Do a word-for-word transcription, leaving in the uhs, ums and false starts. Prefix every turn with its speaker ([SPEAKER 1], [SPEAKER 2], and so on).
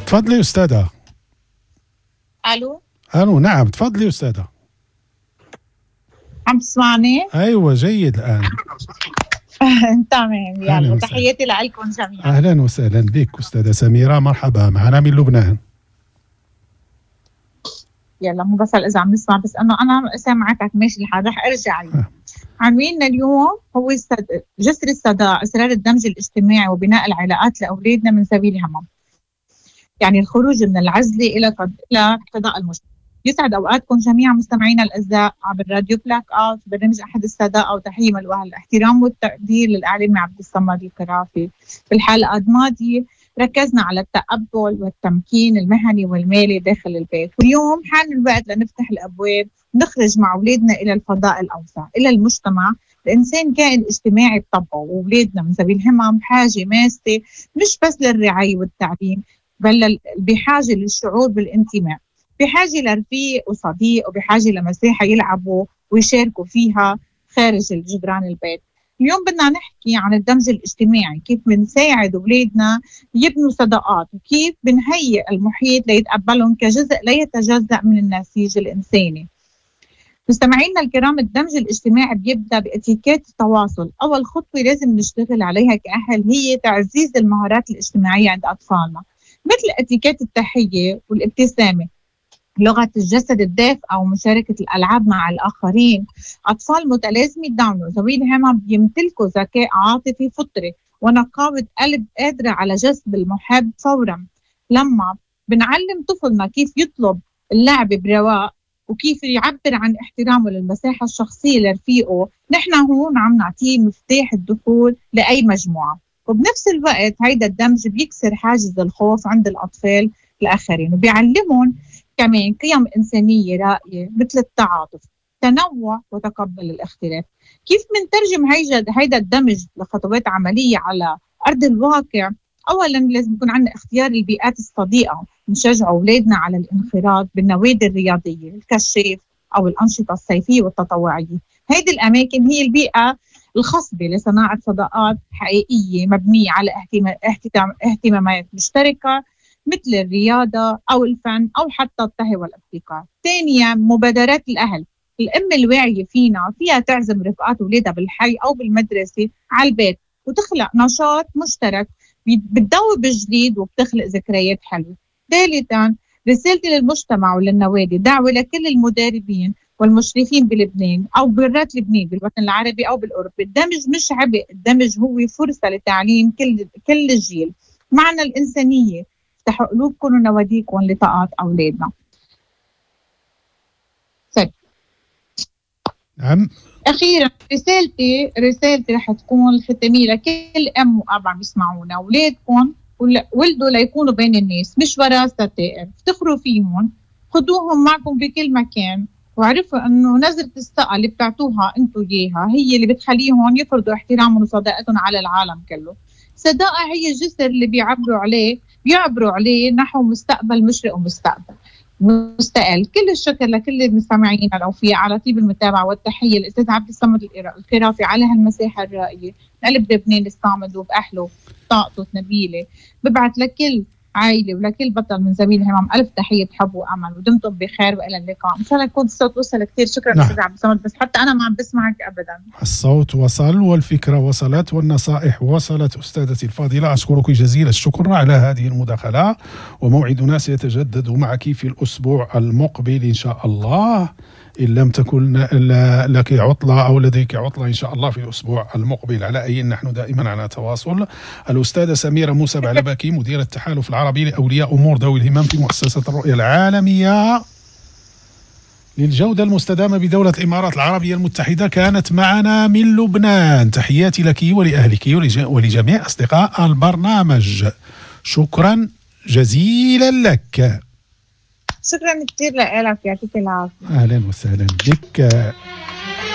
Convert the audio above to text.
[SPEAKER 1] تفضلي أستاذة.
[SPEAKER 2] ألو.
[SPEAKER 1] ألو، نعم تفضلي أستاذة.
[SPEAKER 2] عم تسمعني؟
[SPEAKER 1] أيوة جيد الآن.
[SPEAKER 2] تمام، يلا تحياتي لكم جميعا.
[SPEAKER 1] أهلا وسهلا بك أستاذة سميرة، مرحبا معنا من لبنان.
[SPEAKER 2] يلا مو بس إذا عم نسمع، بس إنه أنا سامعتك ماشي الحال، رح أرجع لي. عنواننا اليوم هو جسر الصداقة، أسرار الدمج الاجتماعي وبناء العلاقات لأولادنا من ذوي الهمم، يعني الخروج من العزلة إلى إلى فضاء المجتمع. يسعد أوقاتكم جميعا مستمعينا الأعزاء عبر راديو بلاك أوت، برنامج أحد الصداقة، وتحية ملؤها الاحترام والتقدير للإعلامي عبد الصمد القرافي. في الحلقة الماضية ركزنا على التقبل والتمكين المهني والمالي داخل البيت، واليوم حان الوقت لنفتح الأبواب، نخرج مع أولادنا إلى الفضاء الأوسع، إلى المجتمع. الإنسان كائن اجتماعي بطبعه، وأولادنا من ذوي الهمم بحاجة ماسة مش بس للرعاية والتعليم، بل بحاجة للشعور بالانتماء، بحاجة لرفيق وصديق، وبحاجة لمساحة يلعبوا ويشاركوا فيها خارج الجدران البيت. اليوم بدنا نحكي عن الدمج الاجتماعي، كيف بنساعد أولادنا يبنوا صداقات، وكيف بنهيئ المحيط ليتقبلهم كجزء لا يتجزأ من النسيج الإنساني. مستمعينا الكرام، الدمج الاجتماعي بيبدأ باتيكيت التواصل. أول خطوة لازم نشتغل عليها كأهل هي تعزيز المهارات الاجتماعية عند أطفالنا، مثل اتيكيت التحية والابتسامة، لغة الجسد الدافئة، ومشاركة الألعاب مع الآخرين. أطفال متلازمة داون وذوي الهمم بيمتلكوا ذكاء عاطفي فطري ونقاوة قلب قادرة على جذب المحب فورا. لما بنعلم طفلنا كيف يطلب اللعب برواق وكيف يعبر عن احترامه للمساحة الشخصية لرفيقه، نحن هون عم نعطيه مفتاح الدخول لأي مجموعة. وبنفس الوقت هيدا الدمج بيكسر حاجز الخوف عند الأطفال الآخرين، وبيعلمهم كمان قيم إنسانية رائعة مثل التعاطف، تنوع، وتقبل الاختلاف. كيف منترجم هيدا الدمج لخطوات عملية على أرض الواقع؟ أولاً لازم يكون عندنا اختيار البيئات الصديقة، نشجع أولادنا على الانخراط بالنوادي الرياضية، الكشاف، أو الأنشطة الصيفية والتطوعية. هيدي الأماكن هي البيئة الخصبة لصناعة صداقات حقيقية مبنية على اهتمامات مشتركة مثل الرياضة أو الفن أو حتى الطهي والابتكار. ثانيا، مبادرات الأهل. الأم الواعية فينا فيها تعزم رفقات أولادها بالحي أو بالمدرسة على البيت، وتخلق نشاط مشترك بتدوب الجديد وبتخلق ذكريات حلوة. ثالثا، رسالتي للمجتمع وللنوادي، دعوة لكل المدربين والمشرفين بلبنان أو برات لبنان، بالوطن العربي أو بالأوروبي، الدمج مش عبء، الدمج هو فرصة لتعليم كل كل الجيل. معنى الإنسانية، افتحوا قلوبكم ونواديكم لطاقات أولادنا. طيب.
[SPEAKER 1] نعم.
[SPEAKER 2] أخيرا رسالتي رسالتي رح تكون الختامية لكل أم وأب عم يسمعونا، أولادكم ولدوا ليكونوا بين الناس، مش وراء ستائر، افتخروا فيهم، خدوهم معكم بكل مكان، وعرفوا أنه نظرة الثقة اللي بتعطوها أنتوا إياها هي اللي بتخليهم يفرضوا احترامهم وصداقتهم على العالم كله. الصداقة هي الجسر اللي بيعبروا عليه بيعبروا عليه نحو مستقبل مشرق ومستقبل مستقل. كل الشكر لكل المستمعين الأوفياء على طيب المتابعة، والتحية للأستاذ عبد الصمد القرافي على هالمساحة الرائية قلب لبنان الصامد وبأهله طاقته نبيلة. ببعث لكل عائلة ولكل بطل من زميل همام ألف تحية حب وأمل، ودمتم بخير وإلى اللقاء. إن شاء الله يكون الصوت وصل كثير. شكرا نعم. أستاذ عبد الصمد، بس حتى أنا ما عم بسمعك أبدا.
[SPEAKER 1] الصوت وصل والفكرة وصلت والنصائح وصلت. أستاذتي الفاضلة أشكرك جزيل الشكر على هذه المداخلة، وموعدنا سيتجدد معك في الأسبوع المقبل إن شاء الله، إن لم تكن لك عطلة أو لديك عطلة إن شاء الله في الأسبوع المقبل. على أي نحن دائما على تواصل. الأستاذة سميرة موسى بعلبكي، مديرة التحالف العربي لأولياء أمور ذوي الهمم في مؤسسة الرؤية العالمية للجودة المستدامة بدولة الإمارات العربية المتحدة، كانت معنا من لبنان. تحياتي لك ولأهلك ولجميع أصدقاء البرنامج. شكرا جزيلا لك.
[SPEAKER 2] شكرا كثير لك، يعطيك العافية.
[SPEAKER 1] أهلا وسهلا بك.